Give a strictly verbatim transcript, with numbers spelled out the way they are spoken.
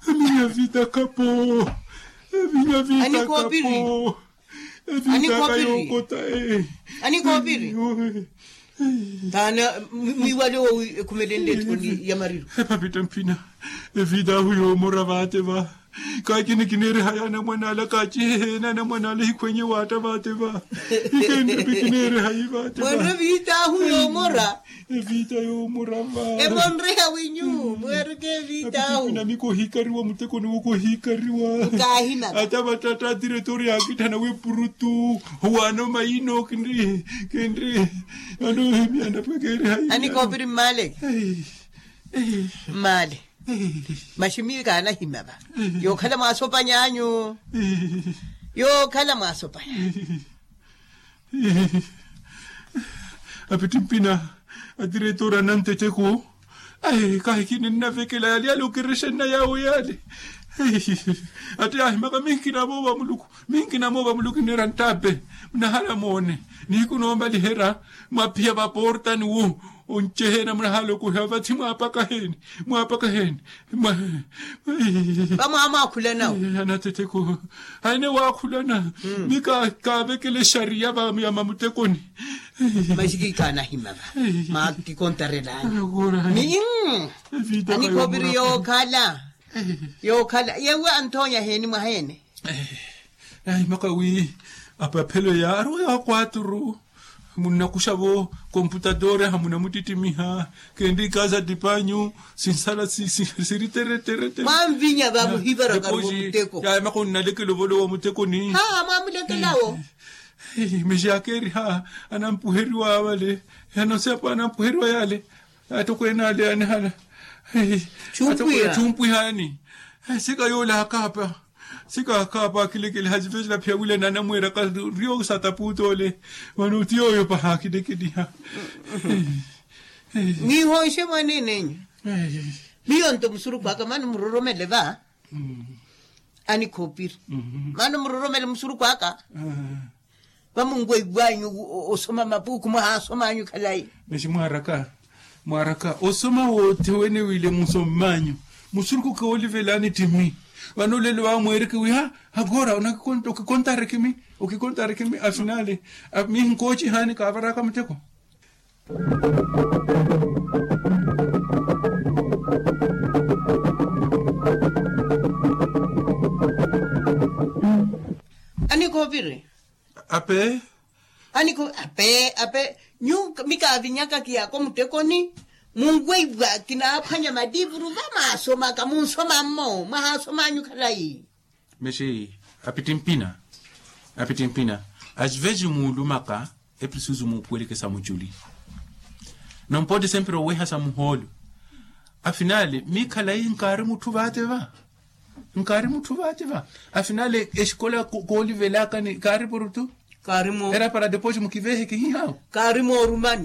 Aminya vita kapo. Aminya vita kapo. Evita kayookota. Anikoopiri. Taana mwiiwale owi ekhumelenle etthoni ya mariro. Epapita mpina. Evita ahu yoomora vaate va. Kaakini kineeriha yaana mwan'ala kaaciheheena na mwan'ala hikhwenye waatta vaate va. Ikenripi kineeriha yi vaate va. Mwanre viitaahu yoomora. Eviita yoomora va. Emonreha winyu mweereke eviitaahu. Apitipina mikohikariwa mutekoni wokohikariwa. Ata vatatta atiretori yaakitthana wepurutu. Owaano mayino kinri kinri. Anohimya anapwekeeriha yi. Anikoopiri mmaale. Mmaale. Maxi miyo kaanahimya va. Yookhala mwaasopany'anyu. Yookhala mwaasopanya. Apittimpina atiretora nantetteko. Kahi kininavekela yale yale okirexa nna yaawo yale. Ati yaahimaka minkina moova muluku. Minkina moova muluku kineera nttape. Munahala moone. Nihiku noombaliherya mwaphiya vaporta ni wo. Onceheena munahala okuhiya vathi mwaapaka heeni. Mwaapaka heeni. Vamwaamwaakhulana wo. Anatetteko. Haine waakhulana. Mi kaavekele exariya va ya mamutekoni. Maxi kiikaanahima va. Maakikontarelani. Ni anikhoopiri yookhala. Yookhala yeewe anthonya heeni mwaheene. Naahimaka wi apaphelo ya aruwa ya kwaturu. Munnakuxa-vo komputatoori ahamunamuttittimiha. Kenri ikaaza ttipanyu sinsala siri tereteretere. Mwanvinya va muhivaraka muteko. Yaamaka onnalekela ovolowa muteko ni haa mwamulekelawo. Mexi akeeriha anampuheriwa vale. Anosepa anampuheriwa yale. Atokweene ale anihala. Chumpwihani. Sika yoole akaapa. Sika akaapa akilekeliha sivesi naphiya wila nanamweeraka. Riyo satapuuta ole. Vano ti yooyo paha akilekeliha. Mwiihonxe mwaneen'enyu. Miyo nto musurukhu aka mano muroromele va. Anikhoopiri. Mano muroromele musurukhu aka. Vamunweiwanyu osoma mapuukhu mwahaasom'anyu khalayi. Mexi mwaaraka mwaaraka osoma woothe wene wile musomm'anyu. Musurukhu koolivelani ttimi. Vano lelo vaamweereke wi ha. Akoora okikontareke mi. Okikontareke mi afinale. Mihi nkoocihaani kaavaraka muteko. Anikoopiri. Ape. Aniko ape ape. Nyu mi kaavinyaka kiyaako muttekoni. Munweiwa kinaaphwanya maliivuru vamaasomaka munsoma mmo mwahaasom'anyu khalayi. Mexi apittimpina. Apittimpina. Aciveji muulumaka. Eprisuzu muupuweleke sa muculi. Nompotti sempre oweha sa muhoolo. Afinale mi khalayi nkaari mutthu vaate va. Nkaari mutthu vaate va. Afinale exikola koolivelakani kaari purutu. Era para depois mukivehe kihihawo. Kaari moorumani.